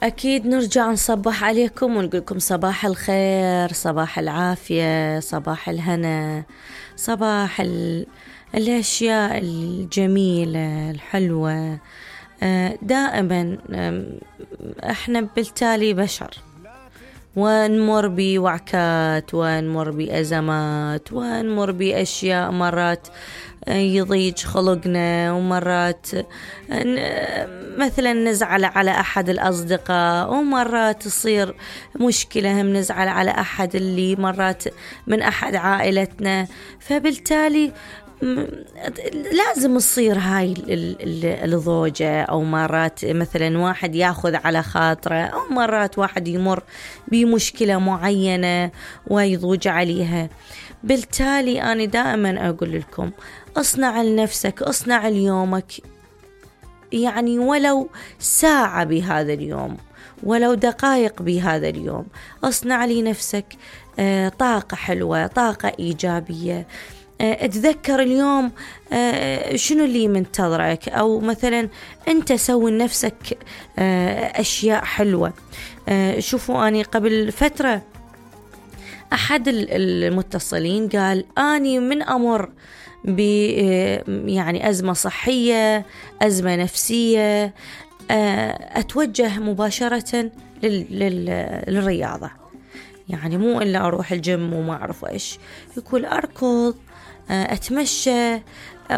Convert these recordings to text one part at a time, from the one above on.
أكيد نرجع نصبح عليكم ونقولكم صباح الخير، صباح العافية، صباح الهنا، صباح الأشياء الجميلة الحلوة. دائما احنا بالتالي بشر، ونمر بوعكات، ونمر بأزمات، ونمر بأشياء مرات يضيج خلقنا، ومرات مثلا نزعل على أحد الأصدقاء، ومرات تصير مشكلة هم نزعل على أحد اللي مرات من أحد عائلتنا. فبالتالي لازم تصير هاي الضوجة، أو مرات مثلا واحد ياخذ على خاطره، أو مرات واحد يمر بمشكلة معينة ويضوج عليها. بالتالي أنا دائما أقول لكم اصنع لنفسك، اصنع ليومك، يعني ولو ساعة بهذا اليوم، ولو دقائق بهذا اليوم، اصنع لنفسك طاقة حلوة، طاقة إيجابية. اتذكر اليوم شنو اللي منتظرك، أو مثلا أنت سوي لنفسك أشياء حلوة. شوفوا، أني قبل فترة أحد المتصلين قال أني من أمر يعني أزمة صحية، أزمة نفسية، أتوجه مباشرة للرياضة، يعني مو إلا أروح الجيم وما أعرف إيش، يقول أركض، أتمشى،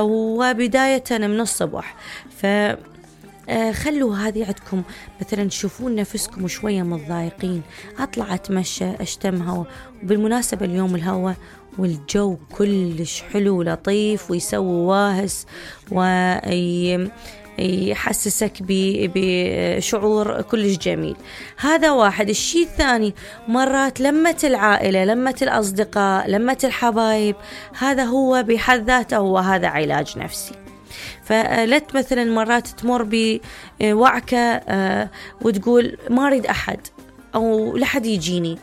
وبداية من الصبح. خلوا هذه عندكم، مثلا تشوفون نفسكم شوية متضايقين، أطلع أتمشى، أشتم هوا. وبالمناسبة اليوم الهوا والجو كلش حلو لطيف، ويسوي واهس ويحسسك بشعور كلش جميل. هذا واحد. الشيء الثاني، مرات لمة العائلة، لمة الأصدقاء، لمة الحبايب، هذا هو بحد ذاته هو هذا علاج نفسي. فلت مثلا مرات تمر بوعكة وتقول ما أريد أحد، أو لحد يجيني،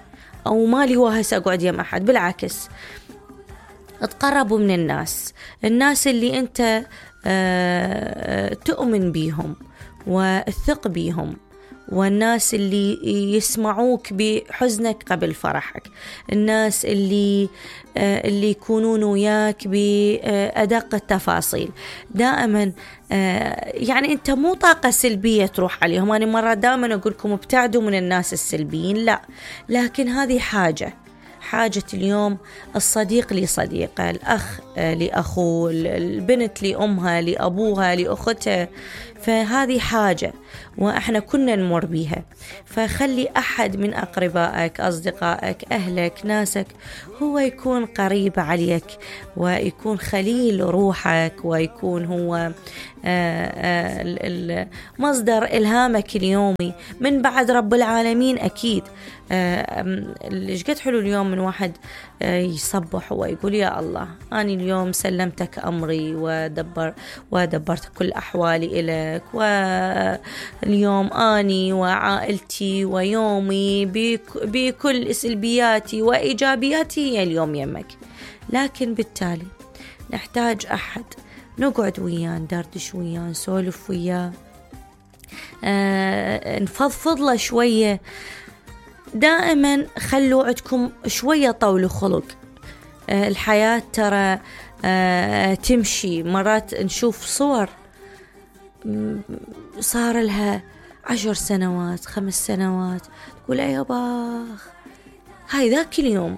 أو مالي واهس أقعد يم أحد. بالعكس، اتقربوا من الناس اللي أنت تؤمن بيهم وثق بيهم، والناس اللي يسمعوك بحزنك قبل فرحك، الناس اللي يكونون وياك بأدق التفاصيل. دائما يعني أنت مو طاقة سلبية تروح عليهم. أنا مرة دائما أقولكم ابتعدوا من الناس السلبيين، لا، لكن هذه حاجة اليوم. الصديق لصديقه، الأخ لأخوه، البنت لأمها، لأبوها، لأختها. فهذه حاجة وإحنا كنا نمر بيها. فخلي أحد من أقربائك، أصدقائك، أهلك، ناسك، هو يكون قريب عليك، ويكون خليل روحك، ويكون هو مصدر إلهامك اليومي من بعد رب العالمين. أكيد إيش قد حلو اليوم من واحد يصبح ويقول يا الله أنا اليوم سلمتك أمري ودبرت كل أحوالي إليك، واليوم أني وعائلتي ويومي بكل سلبياتي وإيجابياتي هي اليوم يمك. لكن بالتالي نحتاج أحد نقعد وياه، ندردش وياه، نسولف وياه، نفضفض له شوية. دائما خلوا عندكم شوية طول خلق. الحياة ترى تمشي. مرات نشوف صور صار لها 10 سنوات، 5 سنوات، تقول يا باخ هاي ذاك اليوم.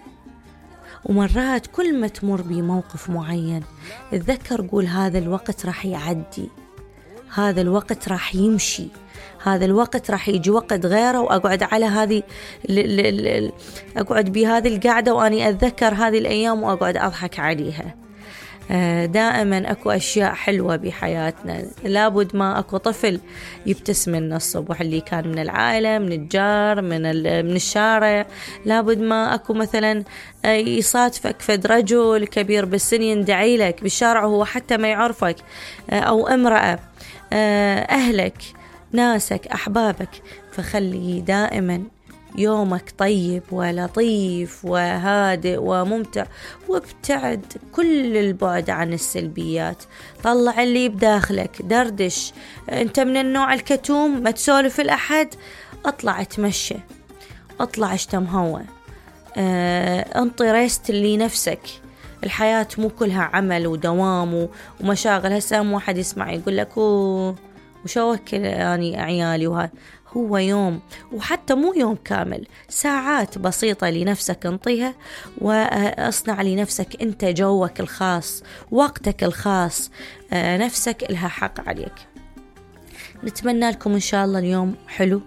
ومرات كل ما تمر بموقف معين اتذكر، قول هذا الوقت راح يعدي، هذا الوقت راح يمشي، هذا الوقت راح يجي وقت غيره، وأقعد على هذه أقعد بهذه القعدة وأني أتذكر هذه الأيام وأقعد أضحك عليها. دائما أكو أشياء حلوة بحياتنا، لابد ما أكو طفل يبتسم لنا الصبح، اللي كان من العائلة، من الجار، من الشارع. لابد ما أكو مثلا يصادفك فد رجل كبير بالسن يندعي لك بالشارع وهو حتى ما يعرفك، أو امرأة، أهلك، ناسك، أحبابك. فخلي دائما يومك طيب ولطيف وهادئ وممتع، وابتعد كل البعد عن السلبيات. طلع اللي بداخلك، دردش. انت من النوع الكتوم ما تسولف الأحد، اطلع اتمشى، اطلع اشتم هوا، انطي ريست لنفسك. الحياة مو كلها عمل ودوام ومشاغل. هسه واحد يسمع يقول لك وشو وكل يعني عيالي وهذا. هو يوم، وحتى مو يوم كامل، ساعات بسيطة لنفسك انطيها، واصنع لنفسك انت جوك الخاص، وقتك الخاص. نفسك لها حق عليك. نتمنى لكم إن شاء الله اليوم حلو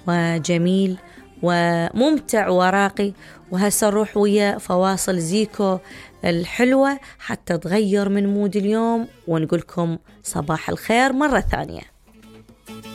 وجميل وممتع وراقي. وهسه نروح ويا فواصل زيكو الحلوة حتى تغير من مود اليوم، ونقولكم صباح الخير مرة ثانية.